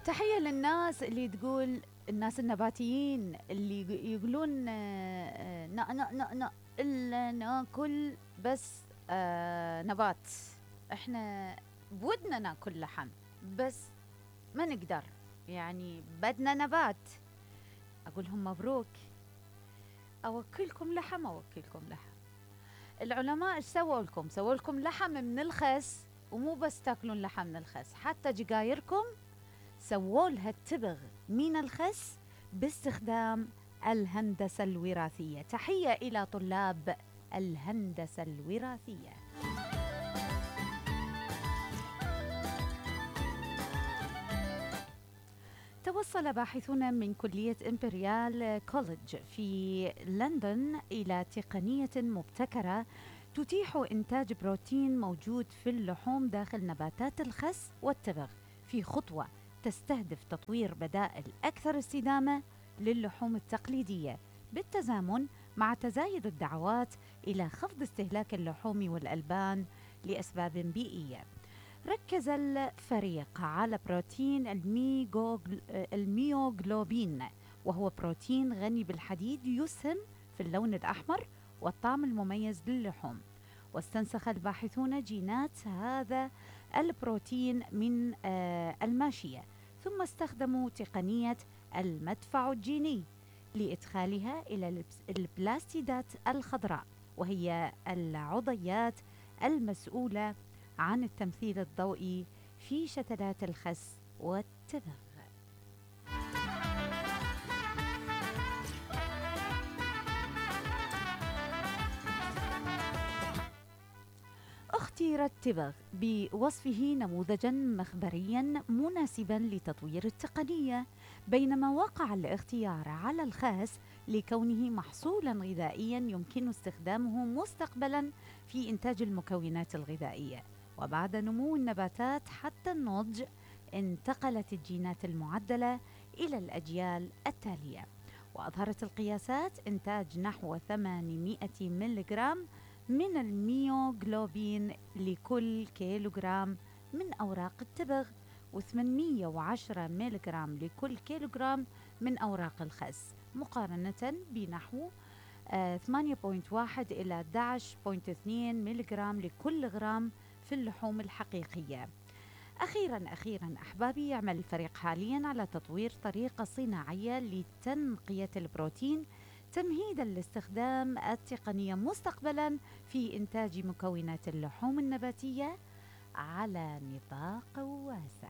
تحية للناس اللي تقول، الناس النباتيين اللي يقولون إلا ناكل بس نبات. احنا بودنا ناكل لحم بس ما نقدر، يعني بدنا نبات. أقولهم مبروك، أوكلكم لحم أوكلكم لحم. العلماء ايش سووا لكم؟ سووا لكم لحم من الخس، ومو بس تاكلون لحم من الخس، حتى جقايركم سووا لها التبغ من الخس باستخدام الهندسة الوراثية. تحية إلى طلاب الهندسة الوراثية. توصل باحثون من كلية إمبريال كوليدج في لندن إلى تقنية مبتكرة تتيح إنتاج بروتين موجود في اللحوم داخل نباتات الخس والتبغ، في خطوة تستهدف تطوير بدائل أكثر استدامة للحوم التقليدية، بالتزامن مع تزايد الدعوات إلى خفض استهلاك اللحوم والألبان لأسباب بيئية. ركز الفريق على بروتين الميوغلوبين، وهو بروتين غني بالحديد يسهم في اللون الأحمر والطعم المميز للحوم. واستنسخ الباحثون جينات هذا البروتين من الماشية، ثم استخدموا تقنية المدفع الجيني لإدخالها إلى البلاستيدات الخضراء، وهي العضيات المسؤولة عن التمثيل الضوئي في شتلات الخس والتبغ. اختير التبغ بوصفه نموذجا مخبريا مناسبا لتطوير التقنية، بينما وقع الاختيار على الخس لكونه محصولا غذائيا يمكن استخدامه مستقبلا في إنتاج المكونات الغذائية. وبعد نمو النباتات حتى النضج، انتقلت الجينات المعدلة إلى الأجيال التالية، وأظهرت القياسات إنتاج نحو 800 ملغرام من الميوغلوبين لكل كيلوغرام من أوراق التبغ، و810 ملغرام لكل كيلوغرام من أوراق الخس، مقارنة بنحو 8.1 إلى 11.2 ملغرام لكل غرام في اللحوم الحقيقية. أخيراً أحبابي، يعمل الفريق حالياً على تطوير طريقة صناعية لتنقية البروتين تمهيداً لاستخدام التقنية مستقبلاً في إنتاج مكونات اللحوم النباتية على نطاق واسع.